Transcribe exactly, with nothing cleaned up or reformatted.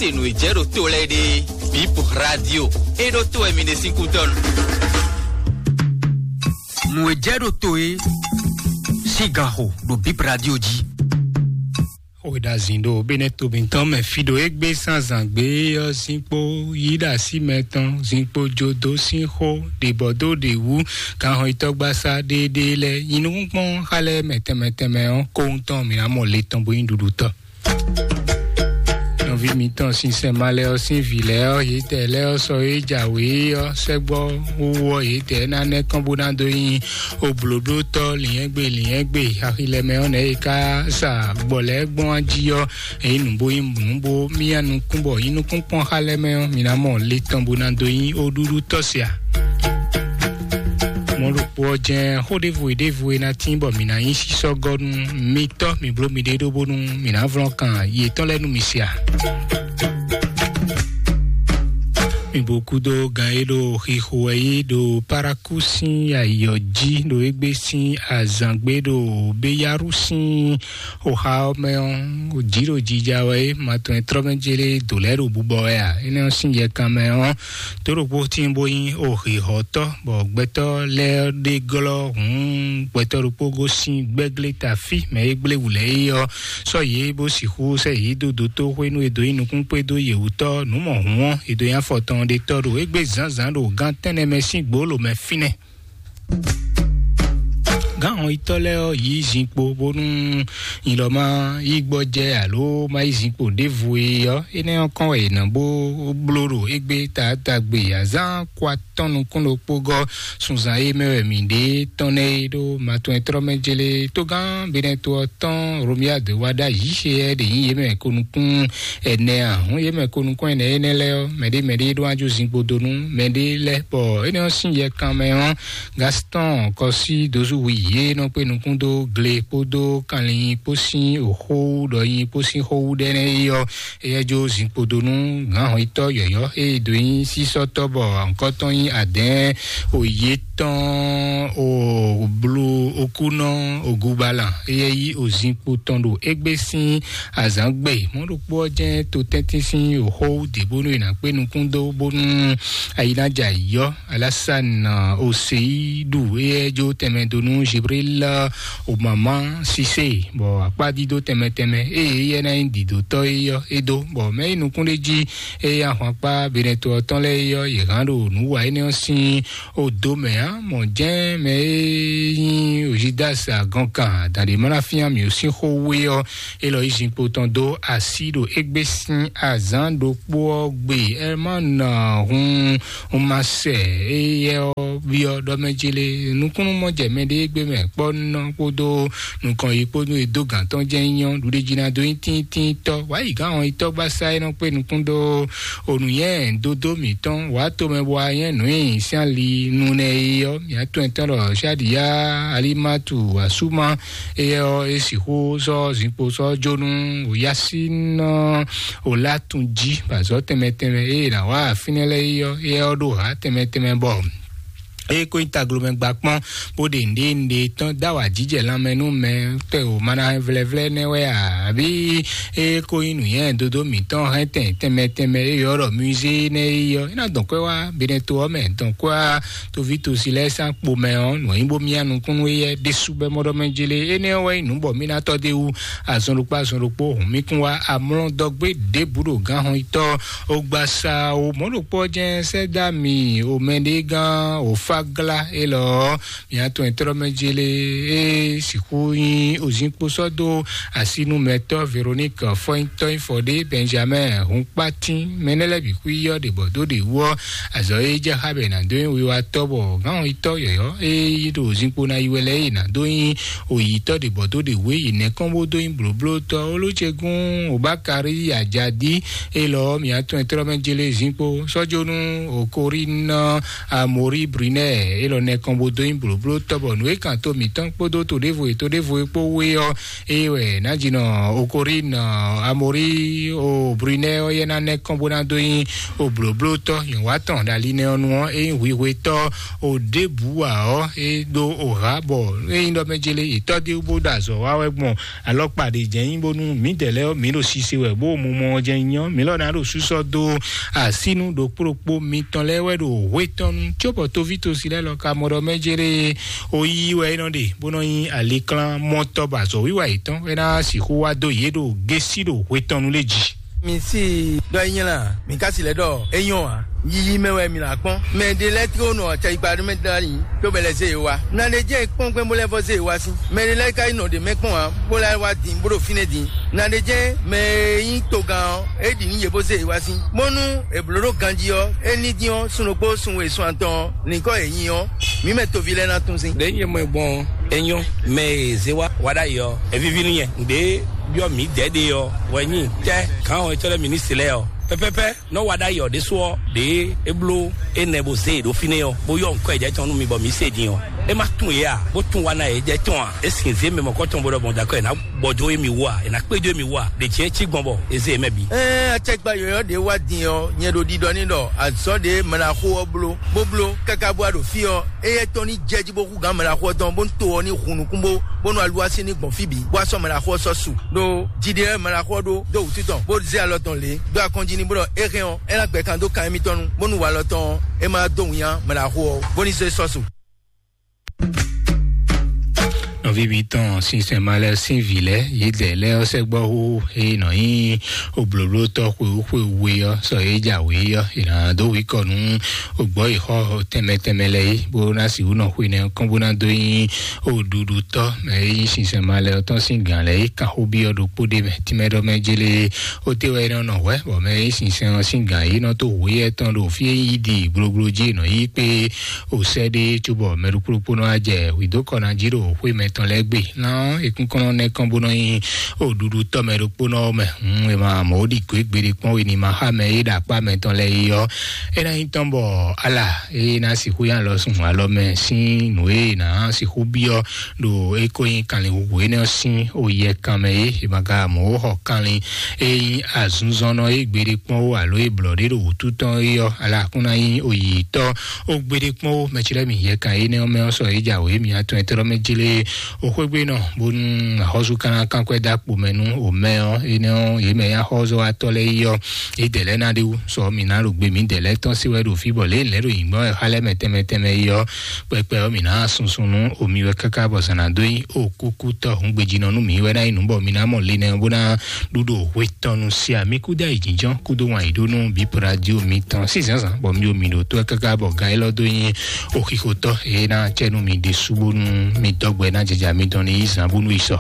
E nǔ e jɛ ɖo to lɛ́ɛ ɖe, Bip Radio, é ɖó to wɛ mi ɖe sín kútɔ́nu. Nǔ e jɛ ɖo to é sín ganxo ɖo Bip Radio jí. Xwedazin ɖo Benɛto mǐtɔn mɛ fí ɖo égbé zǎnzǎn gbé ɔ́, zinkpo yí ɖo así mɛ tɔn, zinkpo jodo sín xó ɖě bɔ dó ɖě wú, ganxɔyítɔ́gbasá ɖéeɖée lɛ́ɛ nyi nukúnkpɔ́n xá lɛ́ɛ mɛ tɛnmɛ tɛnmɛ ɔ́, kóhun tɔn mǐ ná mɔ le tɔn bó nyí ɖuɖutɔ́. Nɔví mǐtɔn sinsɛn ma lɛ́ɛ ɔ́ sín vǐ lɛ́ɛ ɔ́, yětɛɛ lɛ́ɛ ɔ́ sɔ́ e jǎwe ɔ́ sɛ́gbɔ wú ɔ́, yětɛɛ ná nɛ́ kɔn bó ná dó nyi oblǒblótɔ́ lǐnyɛ́gbe lǐnyɛ́gbe axilɛ mɛ ɔ́ nɛ̌ e ka sa gbɔ lɛ́ɛ gbɔn jí ɔ́, èyí nǔ bó nyí nǔ bó myá nukún bɔ nyí nukún kpɔ́n xá lɛ́ɛ mɛ ɔ́, mi ná mɔ le tɔn bó ná dó nyi oɖúɖú tɔ́ sia. Mɔ̌ ɖokpó ɔ́ jɛ́n xó ɖěvo e ɖěvo e ná tín bɔ mǐ ná nyí sísɔ́gɔ́ nú mitɔ́, mi bló miɖée ɖó bónú mǐ ná vlɔ́n kan yětɔn lɛ́ɛ nú mi se a? Mi bo kúdó gan e ɖo xixo wɛ yí ɖo Paraku sín ayǐ ɔ́ jí, ɖo égbé sín azǎngbé ɖo Béyarú sín oxa ɔ́ mɛ ɔ́, jǐ ɖo jija wɛ é, ma tɔn e tlɔ́ mɛ jélé dǒ lɛ́ɛ ɖo bubɔ wɛ a? Énɛ́ ɔ́ sín yɛkan mɛ ɔ́, tó ɖokpó tíin bó nyí oxixɔtɔ́, bɔ gbɛtɔ́ lɛ́ɛ ɖe glɔ́ hǔn gbɛtɔ́ ɖokpó gosín gbɛ́glé tafí mɛ e gblé wǔ lɛ́ɛ é ɔ́, sɔ́ yě bó sixú sɛ́ yě dó dótóxwé nú e dó nyí nukúnkpé dó yě wútɔ́ nǔ mɔ hǔn ɔ́, e dó nyí afɔtɔn ɖé tɔ́ ɖo égbé zǎnzǎn ɖo gán tɛ́nnɛ mɛ sín gbǒ lǒ mɛ fínɛ́. Gǎn hɔnyitɔ́ lɛ́ɛ ɔ́ yí zinkpo bónú nyilɔ má yí gbɔjɛ́ alo má yí zinkpo ɖěvo e ɔ́, énɛ́ ɔ́ kɔn wɛ è nǎ bó bló ɖo égbé taatagbe azǎn kɔ atɔ́ nukún ɖokpó gɔ́ sunzan e mɛ wɛ mǐ ɖe tɔn nɛ́ é ɖó matɔn e tlɔ́ mɛ jélé tógán Benɛto ɔ́ tɔn Romiade wá ɖ'ayǐ xé ɛ ɖě nyí yě mɛ ko nukún ɛnɛ ǎ. Hǔn yě mɛ ko nukún ɛnɛ énɛ́ lɛ́ɛ ɔ́, mɛɖé mɛɖé ɖó wá jó zinkpo dó nú mɛɖé lɛ́ɛ, bɔ énɛ́ ɔ́ sín yɛ kanmɛ ɔ́, Gaston Kɔsí Dozuwi yě nɔ kpé nukún dó gle kpódó kanlin kpó sín òxó ɖɔ nyi kpó sín xówú ɖɛ́nɛ́ é ɔ́, éyɛ́ jó zinkpo dó nú gǎnhɔnyitɔ́ yɔ̌yɔ́ e dó nyí sísɔ́tɔ́ bɔ nǔkɔ́tɔn nyí adɛ̌ɛn òye tɔn o blu okúnɔ ogubalan, éyɛ́ yí òzinkpo tɔn ɖo égbé sín azǎngbe. Mɔ̌ ɖokpó ɔ́ jɛ́n totɛ́ntin sín òxó ɖě bónú è nǎ kpé nukún dó bónú ayi ná jɛ ayǐ ɔ́. Alásán Oseyidu, éyɛ́ jó tɛnmɛ dó nú Jibril Omama Sise, bɔ akpá dídó tɛnmɛ tɛnmɛ ée éyɛ́ ná nyí dǐdótɔ́ é ɔ́, é dó, bɔ mɛ e nukún ɖé jí ée ahwankpá Benɛto ɔ́ tɔn lɛ́ɛ é ɔ́, yě hán ɖo nǔ wa énɛ́ ɔ́ sín odó mɛ ǎ. Mɔ̌ jɛ́n mɛ e nyí Ozidasi agɔnkan adǎn ɖé ma ná fyán mǐ ó sín xó wú é ɔ́, é lɔ yí zinkpo tɔn dó así ɖo égbé sín azǎn ɖokpó ɔ́ gbe. Ɛ má nɔ hun un ma sɛ éyɛ́ ɔ́ byɔ́ ɖɔ mɛ jí lé. Nukúnnú mɔ jɛ mɛɖé gbé mɛ kpɔ́ nɔ kpódó nukɔn yi kpódó e dó gǎn tɔn jɛ́n nyɔ́ ɖuɖéjínadó nyí tíntínntɔ́. Wǎ yi gǎn hɔn yi tɔ́gbásá e nɔ kpé nukún dó onǔnyɛ́ dódó mǐtɔn wǎ tomɛ bɔ a nyɛ́ nǔ nyi sín ali nunɛ é ɔ́, mǐ atɔn tɔn ɖɔ Shadiya Alimatu Asuma, éyɛ́ ɔ́ é sixú sɔ́ zinkpo sɔ́ jó nú Yasin ɔ́, o lá tun jí bɔ azɔ̌ tɛnmɛ tɛnmɛ e è nǎ wa fínɛ́ lɛ́ɛ é ɔ́, éyɛ́ ɔ́ ɖó hǎ tɛnmɛ tɛnmɛ bɔ eye kó nyí taglomɛ gba kpɔ́n bó ɖe nǔɖé nǔɖé tɔn dó awa jijɛ lanmɛ nú mɛ tɛ o mana vlɛvlɛ nɛ wɛ a? Àbí eye kó nyí nǔnyɛ dodo mǐtɔn hɛn tɛn tɛnmɛ tɛnmɛ e yɔ ɖɔ musée nɛ é yɔ é ná dɔn kwɛ wá Benɛto ɔ́ mɛ dɔn kwɛ wá toví tosi lɛ́ɛ sán kpo mɛ ɔ́ nǔ e nyí bó myá nukúnnú éyɛ́ ɖésú bɛ́ mɔɖɔ mɛ jélé. Énɛ́ ɔ́ wɛ nyí nǔ bɔ mì ná tɔ́ dó wú azɔn ɖokpó azɔn ɖokpó hǔn mì kún wá amlɔ dɔgbé ɖěbǔ ɖo gǎnhɔnyitɔ́ ogbasa o mɔ̌ ɖokpó ɔ́ jɛ́n sɛ́ dó ami o mɛɖé gán o fáglá élɔ́ ɔ́, mǐ atɔn e tlɔ́ mɛ jélé é sixú nyí ozínkpo sɔ́ dó asínúmɛtɔ́ Véronique Fɔ́nyítɔ́nyífɔ́ɖé Benjamin Hunkpatín mɛ nɛ́ lɛ́ɛ bǐ xwí ɔ́ ɖě bɔ dó ɖě wú ɔ́, azɔ̌ e jɛ xá bɔ è nǎ dó nyi wiwatɔ́ bɔ gǎnhɔnyitɔ́ yɔ̌yɔ́ e yí ɖo zinkpo ná yi wɛ lɛ́ɛ e è nǎ dó nyi oyǐtɔ́ ɖě bɔ dó ɖě wú e yi nɛ̌ kɔn bó dó nyi blǒblótɔ́ Olójegun Obakari Ajadi élɔ́ mǐ atɔn e tlɔ́ mɛ jélé zinkpo sɔ́jónú Okorín Amori Brunel Ɛ, élɔ́ nɛ́ kɔn bó dó nyí blǒbló tɔ́ bɔ nǔ e kan tó mǐtɔn kpódó to ɖěvo e to ɖěvo e kpó wé ɔ́, é wɛ nǎjínɔ Okorín Amorí o Brunɛ́ ɔ́ yɛ ná nɛ́ kɔn bó ná dó nyí o blǒbló tɔ́ nyɔ̌wá tɔn ɖo ali nɛ́ ɔ́ nu ɔ́, é nyí hwihwe tɔ́ o ɖěbǔ ǎ ɔ́, é ɖó o hǎ bɔ é nyí ɖɔ mɛ jélé yě tɔ́ ɖé bó ɖo azɔ̌ wa wɛ gbɔn alɔkpa ɖě jɛ́n nyí bónú mǐdɛɛ lɛ́ɛ ɔ́, mǐ ɖo sise wɛ bó mumɔ ɔ́ jɛ́n nyí ɔ́, mǐ lɔ ná ɖo sísɔ́ dó asínu ɖokpó ɖokpó mitɔn lɛ́ɛ wɛ ɖo hwetɔ́nu cóbɔ tóvítosi lɛ́ɛ lɔ ka mɔ ɖɔ mɛ jéré o yí wɛ é nɔ ɖe bó nɔ nyí aliklán mɔtɔ́ bɔ azɔ̌wiwa yětɔn é ná sixú wá dó yě ɖo gésí ɖo hwetɔ́nu lé jí. Mi si ɖɔ é nyí la, mi ka si lɛ ɖɔ é nyɔ́ ǎ. Yiyi mɛ wɛ mi là kpɔ́n. Mɛ ɖé lɛ́ɛ tló nɔ acɛyikpa ɖé mɛ dali, tó bɛ lɛ zé e wa. Na ɖe jẹ́ kpɔ́n gbɛn bó lɛ vɔ zé e wa sín. Mɛ ɖé lɛ́ɛ ka yi nɔ ɖě mɛ kpɔ́n ǎ, bó lɛ wá din, bó ɖo fínɛ́ din. Na ɖe jẹ́ mɛ e nyí togán ɔ́, é ɖi nú yě bó zé e wa sín. Bónú è blǒ ɖó ganjí ɔ́, é ní dín ɔ́, sun ɖokpó sun we sun atɔn ɔ́, nǐkɔ yě nyi ɔ́, mǐ mɛ toví lɛ́ɛ ná tún sín. Ɖě nyɛ mɔ gbɔn é nyɔ́, mɛ e zé wá wá ɖ'ayǐ ɔ́, é víví nú nyɛ. Nǔɖé byɔ́ mǐ dɛ̌ ɖe ɔ́ wɛ nyí tɛ́ gǎn ɔ́ e tɔ́ lɛ́ɛ ministri lɛ́ɛ ɔ́, pɛ́pɛ́pɛ́ nɔ wa ɖ'ayǐ ɔ́ ɖésú ɔ́, ɖě é bló énɛ́ bó zé e ɖó fínɛ́ ɔ́, bó yɔ nǔkɔ e jɛ tɔn nú mi bɔ mǐ se din ɔ́, é má tunwun yě a, bó tunwun wa ná yě jɛ tɔn a? É sin zé mɛ mɔ̌kɔtɔn bó ɖɔ gbɔn dó akɔ è nǎ gbɔ dó émí wú a, è nǎ kpé dó émí wú a? Ɖě jɛ́n cí gbɔn bɔ é zé mɛ bǐ. Ɛ, acɛkpa yɔ̌yɔ́ ɖě wá din ɔ́, nyɛ ɖo ɖiɖɔ ní ɖɔ azɔ̌ ɖě mɛ ná xo ɔ́ bló, bó bló káká bó wá ɖo fí ɔ́, éyɛ́ tɔn ní jɛ jí bó hú gǎn mɛ ná xo ɔ́ tɔn, bó ní to ɔ́ ní hun nukún bó, bónú aluwá sín ní gbɔn fí bǐ, bó wá sɔ́ mɛ ná xo ɔ́ sɔ́ su. Ɖó jijɛ mɛ ná xo ɔ́ ɖó dó wǔtu tɔn, bó zé alɔ tɔn lě, dó akɔnjí ní bó ɖɔ é hɛn ɔ́, é ná gbɛ kan dó kan émítɔn nu, bónú walɔ tɔn ɔ́, é má dó winnyá mɛ ná xo ɔ́, bó ní zé sɔ́ su. Nɔví mitɔn sinsɛn ma lɛ́ɛ sín vǐ lɛ́ɛ yědɛɛ lɛ́ɛ ɔ́ sɛgbɔ́ hú e nɔ nyí oblǒblótɔ́ xwewú xwewú é ɔ́, sɔ e jǎwe é ɔ́, è nǎ dó wǐkɔ nú ogbɔ́ yi xɔ tɛnmɛ tɛnmɛ lɛ́ɛ é, bó ná sixú nɔ xwe nɛ́ kɔn bó ná dó nyí oɖuɖutɔ́ mɛ e nyí sinsɛn ma lɛ́ɛ ɔ́ tɔn sín gǎn lɛ́ɛ é kan xó byɔ́ ɖokpó ɖé mɛ tínmɛ ɖɔ mɛ jélé. Ó té wɛ é nɔ nɔ hwɛ̌ bɔ mɛ e nyí sinsɛn ɔ́ sín gǎn é nɔ tó hweyɛ́ tɔn ɖo fí e nyí ɖi gblogblo jí è nɔ yí kpé o sɛ́ ɖé cóbɔ mɛ ɖokpó ɖokpó nɔ wá jɛ hwǐdókɔ ná jí ɖo xwé mɛtɔn lɛ́ɛ gbe. Ná ekúnkɔ́nnɔ nɛ́ kɔn bó nɔ nyí oɖuɖutɔ́ mɛ ɖokpónɔ ɔ́ mɛ. Hǔn è ma mɔ ó ɖi gǒ gbeɖé kpɔ́n we ní ma xá mɛ e ɖo akpá mɛtɔn lɛ́ɛ é ɔ́, é ná nyí tɔn bɔ ala e ná sixú nyi alɔ sun alɔ mɛ sín nǔ e è nǎ sixú byɔ́ ɖo é ko nyí kanlin huhu énɛ́ ɔ́ sín oyɛ kan mɛ é, è ma ka mɔ ó xɔ kanlin e nyí azunzɔnnɔ e gbeɖé kpɔ́n ó alo e blɔ̌ ɖé ɖo wǔtu tɔn é ɔ́, ala kún ná nyí oyǐtɔ́ ó gbeɖé kpɔ́n ó. Mɛ ce lɛ́ɛ mi yɛ kan énɛ́ ɔ́ mɛ ɔ́ sɔ é jǎwe mi atɔn e tɔ́ mɛ jlé o xwégbé nɔ, bónú axɔ́sú ka ná kán kwɛ́ dó akpo mɛ nú o mɛ ɔ́, énɛ́ ɔ́, yě mɛ nyí axɔ́súwatɔ́ lɛ́ɛ yi ɔ́, yědɛɛ lɛ́ɛ ná ɖe wú sɔ mi ná ɖo gbe mǐdɛɛ lɛ́ɛ tɔn sí wɛ ɖo fí bɔ lě lɛ́ɛ ɖo nyǐgbɔ́n wɛ xá lɛ́ɛ mɛ tɛnmɛ tɛnmɛ yi ɔ́, kpɛkpɛ ɔ́, mǐ ná susu nú omi wɛ káká bɔ zǎn ná dó nyi o kúkútɔ́ hǔngbejínɔ nú mǐ wɛ ná nyí nǔ bɔ mi ná mɔ linɛ ɔ́ bó ná ɖu ɖo hwe tɔn nu sia mì kúdó ayǐjínjɔ́n kúdó wan yǐ ɖó nú bǐ radio mitɔn sín zǎnzǎn bɔ mi ɖo mǐ ɖo tó wɛ káká bɔ gan élɔ́ dó nyi oxixotɔ́ e ná cɛ nú mi ɖésú bónú mi dɔgbɛ ná jɛjɛ mi dɔn ní yí zǎn bónú yi sɔ.